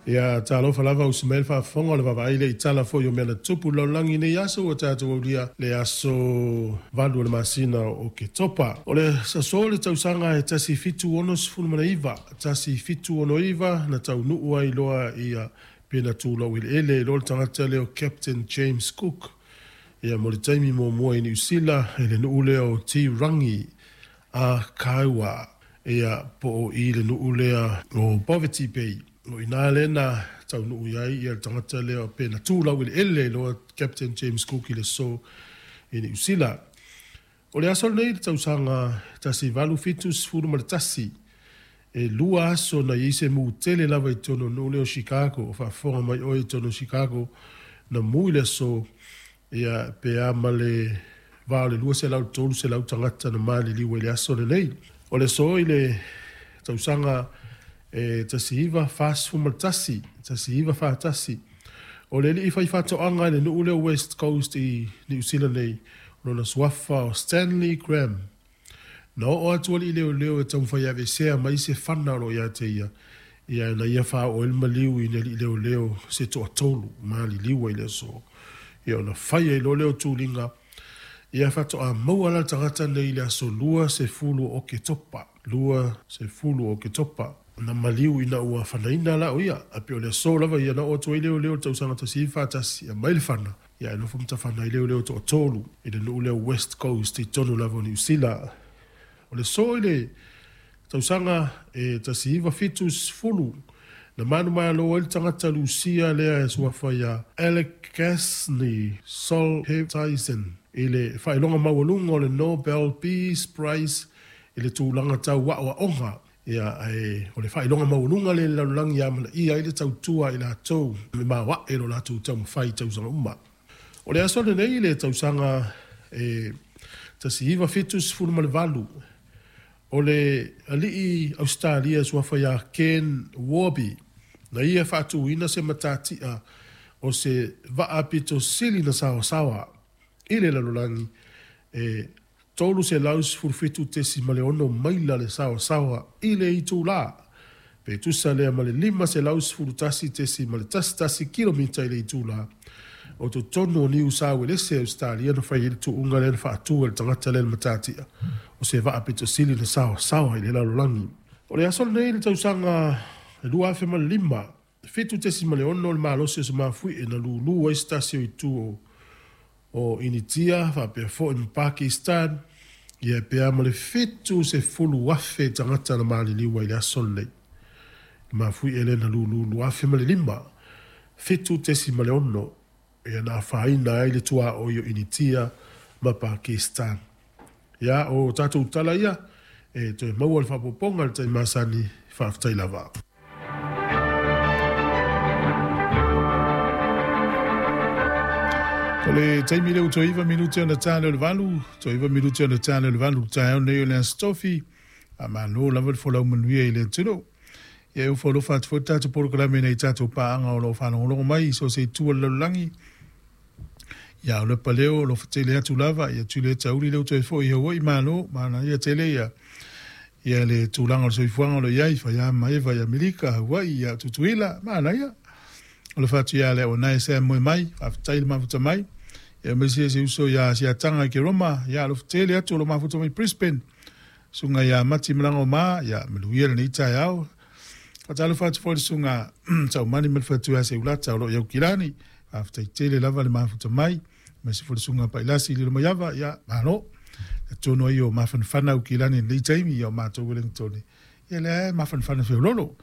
Ia, talofa lava usi mai le faafofoga o le vaavaai lea i tala foi o mea na tutupu i le lalolagi i nei aso ua tatou aulia le aso 8 o le masina o Oketopa. O le aso i le tausaga e 1769, 1769 na taunuu ai loa ia pe na tulou eleele ai loa le tagata lea o Captain James Cook ia mo le taimi muamua i Niu Sila i le nuu lea o Tirangi a Kaiwa ia po o i le nuu lea o Poverty Bay. O i ina lea na taunuu i ai ia le tagata lea pe na tu laueleele ai loa Captain James Cook i le aso i Niu Sila. O le aso lenei i le tausaga 1871, e 2 aso na i ai se mu tele lava i totonu o le nuu lea o Chicago. O faafofoga mai oe i totonu o Chicago, na mu i le aso ia pe a ma le va o le 200 i le 300 tagata na maliliu ai i le aso lenei. O le aso i le tausaga e 1941, 1941, o le alii faifaatoaga i le nuu lea o West Coast i Niu Sila nei, o lona suafa o Stanley Graham. Na oo atu alii leoleo e taumafai e aveesea mai se fana o lo o ia te ia, ia na ia faaoo ai le maliu i ni alii leoleo se toatolu maliliu ai i le aso. Ia ona fai ai loa lea o tuliga, ia faatoa maua la le tagata nei i le aso 20 o Oketopa, 20 o Oketopa, na maliu ina ua fanaina la o ia, ae pei o le aso lava ia na oo atu ai leoleo i le tausaga 1941 e aumai le fana, ia ae nofo ma tafana ai leoleo e toatolu i le nuu lea o West Coast i totonu lava o Niu Sila. O le aso i le tausaga e 1970, na manumalo ai le tagata Lusia lea e suafa ia Aleksandr Solzhenitsyn i le faailoga maualuga o le Nobel Peace Prize i le tulaga tau aoaoga. Ia, ae o le faailoga maualuga lea i le lalolagi e amanaia ai le tautua a i latou e maoae lo latou taumafai i tausaga uma. O le aso lenei i le tausaga e 1978, o le alii Ausetalia suafa ia Ken Warby, na ia faatuina se matatia o se vaa pito sili na saoasaoa i le lalolagi e 317.6 maila le saoasaoa i le itulā, pe tusa lea ma le 511.11 kilomita i le itulā, o totonu o Niu Sauelese, Ausetalia, na fai ai le tuuga lea na faatu e le tagata lea le matatia o se vaa pito sili na saoasaoa i le lalolagi. O le aso lenei i le tausaga 2005, 7.6 le malosi o se mafuie na lūlū ai se tasi o itu o Initia faapea foi ma Pakistan, ia pe a ma le 70,000 tagata na maliliu ai i le aso lenei. Le mafuie lea na lūlū 2005, 7.6, ia na afaina ai le tuaoi o Initia ma Pakistan. Ia, o tatou tala ia, e toe maua le faaopoopoga i le taimi masani, faafetai lava. O le taimi lea ua toe 9 minute ona ta lea o le 8, toe 9 minute ona ta lea o le 8 i le taeao nei o le Aso Tofi. Faamalo lava le folau manuia i le atunuu. Ia e ofo alofa atu foi le tatou polokalame i nai tatou paaga o lo o faalogologo mai i so o se itu o le lalolagi. Ia o le paleo o lo o fatele atu lava, ia tuli e tauli lea ua toe foi i Hawaii, malo, manaia tele ia ia le tulaga o le soifuaga o lo o i ai, fai ma Eva i Amerika, Hawaii, ia Tutuila, manaia. O le fatu ia le o nai se moe mai, faafetai le mafuta mai. Ia aemaise se uso ia Siataga i Keroma, ia alofa tele atu o lo mafuta mai Brisbane. Susuga ia Mati Malaga o Ma, ia manuia lenei taeao. Faatalofa atu foi i le susuga Taumani ma le faletua ia Seulata o lo o i Aukilani. Faafetai tele lava le mafuta mai. Aemaise foi le susuga Pailasi i Lilomaiava, ia malo. Talitonu ai o mafanafana Aukilani i lenei taimi, ia o matou Wellington, ia lea e mafanafana feololo.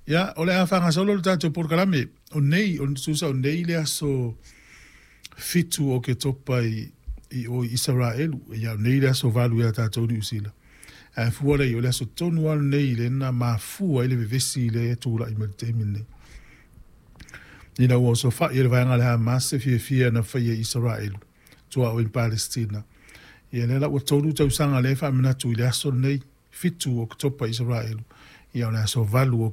Ia, o le a faagasolo le tatou polokalame. O nei, o tusa o nei le aso 7 o Oketopa i, i o i Isaraelu. Ia, o nei le aso 8 ia tatou Niu Sila. Ae fua lea, o le aso tonu lava lenei lea na mafua ai le vevesi lea e tulai mai i le taimi lenei. Ina ua osofai e le vaega a le Hamas se fiafia na faia i Isaraelu, tuaoi i Palestina. Ia, lea la ua 3 tausaga lea e faamanatu i le aso lenei. 7 o Oketopa i Isaraelu, ia o le aso 8 o